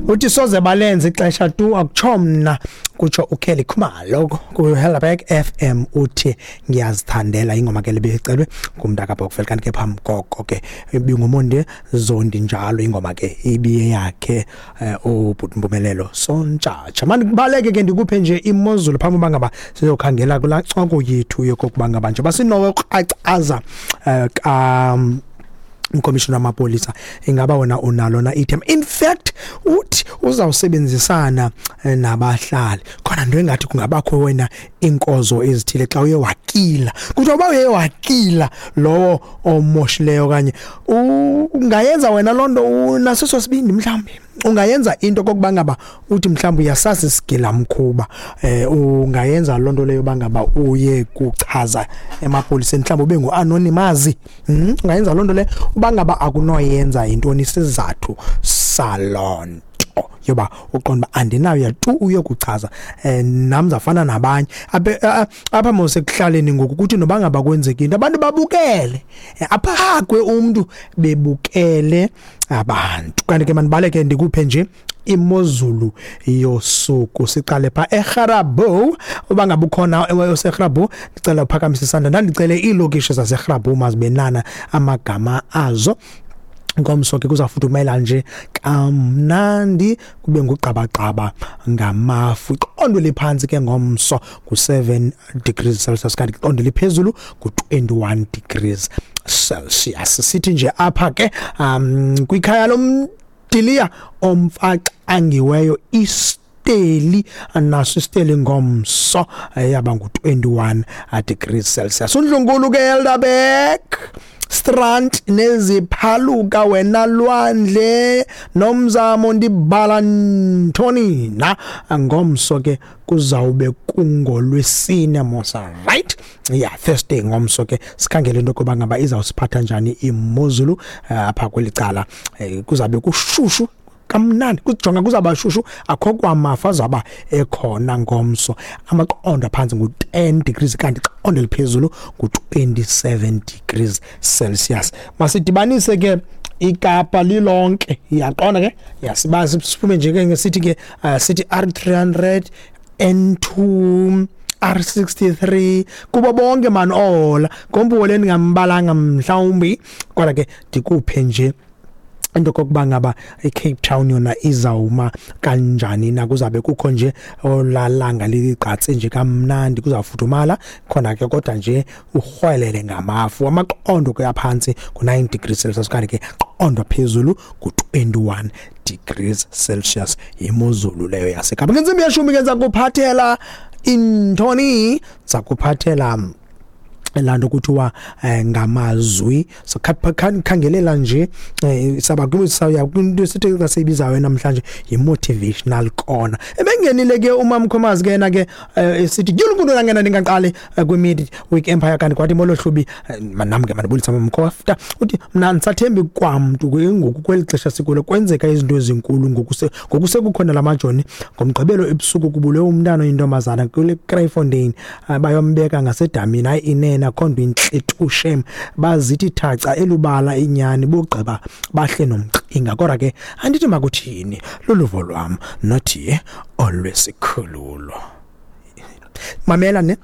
Uthi soze balenze ixesha tu, akutsho mna, kutsho uKelly Khumalo kuHelderberg FM. Uthi ngiyazithandela ingoma ke lebecelwe ngumntaka Bokvel, kanti ke phambi koko ke ibinguMonde Zondi njalo ingoma ke ibiye yakhe ubhuti Mpumelelo Sontshatsha. Mandibaleke ke ndikuphe nje imozulu phambi uba ngaba sizokhangela kulaa ncoko yethu yokokuba ngaba nje basinokracaza ka umkomishina wamapolisa, ingaba wena unalo na ithemba? In fact uthi uzawusebenzisana nabahlali khona, nto engathi kungabakho wena iinkozo ezithile xa uye wakila, kuthiwa uba uye wakila lowo omoshileyo, okanye ungayenza wena loo nto unaso sibindi, mhlawumbi ungayenza into kokuba ngaba uthi mhlawumbi uyasazi isigilamkhuba, ungayenza loo nto leyo uba ngaba uye kuchaza emapoliseni, mhlawumbi ube ngu-anonymous, Ungayenza loo nto leyo? Uba ngaba akunoyenza, yintoni isizathu saloo nto yoba uqonda uba andinayo tu uyokuchaza? Nam zafana nabanye apha mos ekuhlaleni ngoku, kuthi noba ngaba kwenzeka into abantu babukele, aphakwe umntu bebukele abantu. Kanti ke mandibaleke ndikuphe nje imozulu yosuku, siqale pha eGrabouw. Uba ngabe ukhona oseGrabouw, ndicela uphakamise isandla. Ndandicele iilokishi zaseGrabouw mazibenana amagama azo. Ngomso ke kuzawufudumela nje kamnandi, kube ngugqabagqaba ngamafu. Iqondo eliphantsi ke ngomso ngu-7 degrees Celsius, kanti iqondo eliphezulu ngu-21 degrees Celsius. Sithi nje apha ke kwikhaya lomdiliya omfaxangiweyo isteli, naso isteli ngomso yaba ngu-21 degrees Celsius. Undlunkulu ke Elderberg Strand neziphaluka, wena lwandle nomzamo, ndibala ntoni na? Ngomso ke kuzawube kungolwesine mosa, right? Yeah, Thursday ngomso ke. Sikhangele into yokuba ngaba izawusiphatha njani imozulu apha kweli cala. Kuzabe kushushu kamnandi, kujonga kuzawuba shushu, akho kwamafa azawuba ekhona ngomso. Amaqondo aphantsi ngu-10 degrees, kanti iqondo eliphezulu ngu-27 degrees Celsius. Masidibanise ke iKapa lilonke, iyaqonda ke, yasiba siphume nje ke sithi ke sithi R300, N2, R63, kubo bonke mani ohola ngombuwo ndingambalanga mhlawumbi. Kodwa ke ndikuphe nje into kokuba ngaba iCape Town yona izawuma kanjani na. Kuzabe kukho nje olalanga ligqatse nje kamnandi, kuzawufudumala khona ke, kodwa nje urhwelele ngamafu. Amaqondo ke aphantsi ngu-9 degrees Celsius, kanti ke qondo phezulu ngu-21 degrees Celsius. Yimozulu leyo yaseKapa. Ngentsimbi yeshumi ke ndizakuphathela intoni? Ndizakuphathela laa nto kuthiwa ngamazwi. So khangelela nje, saba saya kwinto sithi xa siyibizayo namhlanje yi-motivational corner. Ebengenile ke uMamkhomazi ke yena ke esithi dyulukudu langena ndingaqali kwi-mid week empire, kanti kwathi molo Hlubi. Nam ke mandibulisa Mamkhofta. Uthi mna ndisathembi kwamntu ke ngoku kweli xesha sikulo, kwenzeka izinto ezinkulu ngoku ngoku sekukhona la majoni. Ngomgqibelo ebusuku kubulewe umntana oyintombazana kule Kraaifontein, bayombeka ngasedamini. Hayi inene, akho nto intle tu shem, bazithi thaca elubala inyani, bugqiba bahle nomqinga. Kodwa ke andithi makuthini, luluvo lwam nothi olwesikhululo. Mamela ne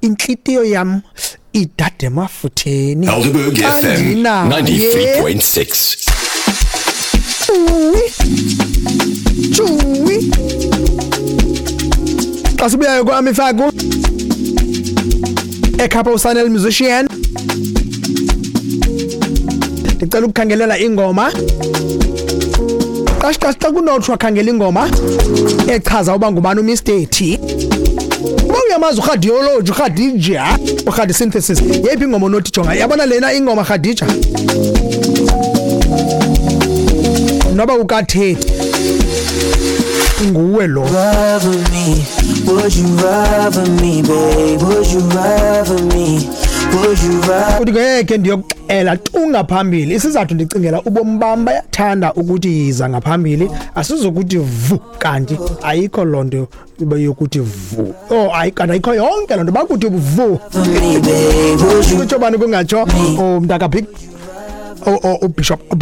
intlitiyo yam idade emafutheni. Helderberg FM Andinaye. 93.6. Tshuwi tshuwi, xa sibuyayo kwam ifaku ekhapha uSanel musician, ndicela ukukhangelela ingoma. Xa kunothiwa khangela ingoma echaza uba ngubani uMr T, uba uyamazi uRhadiology, uRhadija, uRhadi synthesis, yeyiphi ingoma onothi jonga, yabona lena ingoma Rhadija, noba ukathethi nguwe lo? Rather me? Would you rather me, babe? Would you rather me? Would you rather? Uthi ngeke ndiyokuxela tu ngaphambili isizathu, ndicingela ubomi bam, bayathanda ukuthi yiza ngaphambili, asizokuthi vu, kanti ayikho loo nto yokuthi vu. Oh hayi, kanti ayikho yonke loo nto bakuthi vu. Me, babe? Would you Kutsho bani? Kungatsho umntaka big ubishop